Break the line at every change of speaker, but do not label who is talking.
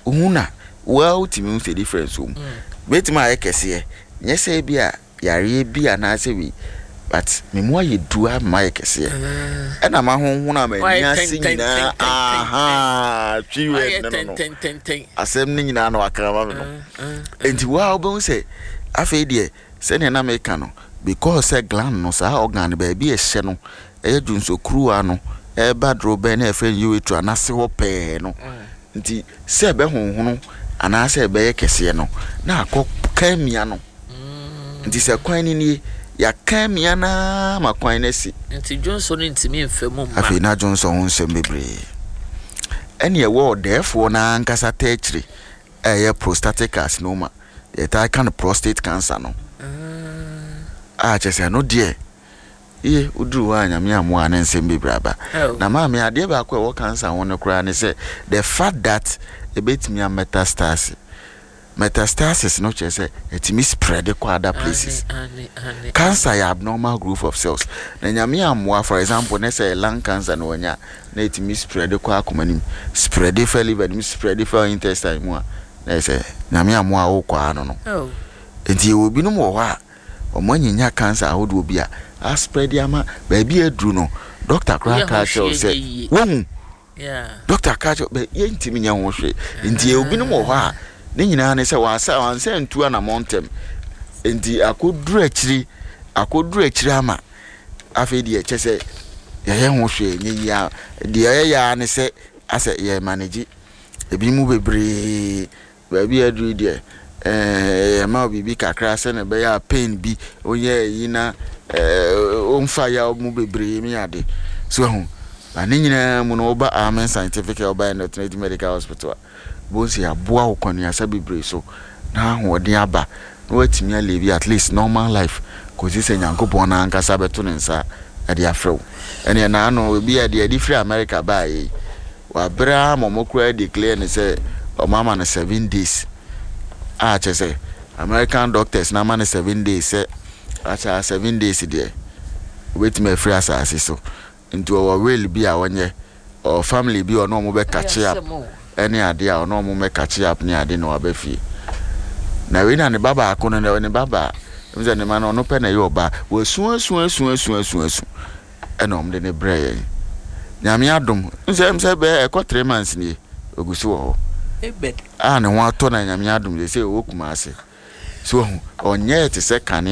Wohu na woa wotumi hu sɛ difference wɔ mu. Bɛtumi ayɛ kɛseɛ, nyɛ sɛ bi a yareɛ bi anaasɛ wei, but me mu ayɛ du a mayɛ kɛseɛ. Ɛna mahonhono a m'ani ase nyinaa ahaa twi word no no no. Asɛm no nyinaa na waka ama me no. Nti woa wobɛhu sɛ afei deɛ sɛdeɛ na meka no, because sɛ gland no, saa organ no baabi a ɛhyɛ no ɛyɛ dwonsɔkuruwa no ɛreba dorobɛn na yɛfrɛ no urethra no ase hɔ pɛɛ no nti sɛ ɛbɛhonhono anaasɛ ɛbɛyɛ kɛseɛ no na akɔ ka mia no. Nti sɛ kwan no nie, yɛaka mia no ara ma kwan no asi.
Nti dwonsɔ no ntumi mfa mu mma.
Afei na dwonsɔ ho nsɛm bebree. Ɛne ɛwɔ ɔdɛɛfoɔ no ankasa taakyire a ɛyɛ prostatic carcinoma, deɛ yɛtaa ka no prostate cancer no. A kyerɛ sɛ ɛno deɛ, ye, woduru hɔ a Nyame ammoa a na nsɛm bebree aba. Na maame, adeɛ baako a ɛwɔ cancer ho no koraa ne sɛ, the fact that ɛbɛtumi a metastase. Metastasis no kyerɛ sɛ ɛtumi spread kɔ other places. Cancer yɛ abnormal growth of cells. Na Nyame ammoa, for example, ne sɛ lung cancer na wanya, na ɛtumi spread kɔ akoma no mu, spread fa liver no mu, spread fa intestine mu a, na ɛyɛ sɛ Nyame ammoa a wokɔ ano no. Nti yɛwɔ binom wɔ hɔ a, wɔn anyinya cancer ahodoɔ bi a aspread ama baabi a aduru no, doctor koraa ka kyerɛ wo sɛ, wohu, Dɔkta ka kyerɛ bɛ yɛntumi nyɛ ho hwee. Nti yɛwɔ binom wɔ hɔ a ne nyinaa ne sɛ wɔasa wɔansa ntu anamɔ ntɛm. Nti akɔduru akyiri akɔduru akyiri ama afei deɛ kyɛ sɛ yɛyɛ ho hwee nyɛ yie a deɛ yɛyɛ ara ne sɛ asɛ yɛ manage ebi mu bebree. Baabi a aduru yi deɛ, eh, yɛma wo biribi kakra sɛnea ɛbɛyɛ a pain bi onyɛ ayi na eh, ɔmfa yaw mu bebree ne ade. So ahu? Ba ne nyinaa mu no, woba Amen Scientific Herbal and Alternative Medical Hospital a, wobɛhu sɛ yɛaboa wo kwanuasa bebree so na ahoɔden aba na woatumi alive at least normal life kɔsi sɛ Nyankopɔn no ankasa bɛto ne nsa de afrɛ wo. Ɛneɛ naano, ebi a deɛ ɛde firi America baeɛ yi, Wabrɛ ara ma ɔmo koraa declare no sɛ ɔmo ama no 7 days a kyerɛ sɛ American doctors no ama no 7 days sɛ akyɛ a 7 days deɛ obetumi afiri asaase so nti ɔwɔ will bi a ɔnyɛ ɔwɔ family bi a ɔne ɔmo bɛ catch up ɛne adeɛ a ɔne ɔmo mɛ catch up ne ade na waba fie na wei na ne ba baako no ne ba baa sɛ ne ma no ɔno pɛ na ɛyɛ ɔbaa wasu asu asu asu asu asu ɛna wɔn de no brɛɛ yɛn. Nyame adom, nsɛ sɛ bɛyɛ ɛkɔ 3 months nie, ogu so wɔ hɔ. A ne ho atɔ na Nyame adom sɛ ɔwɔ Kumase. So ɔnyɛɛ te sɛ kane.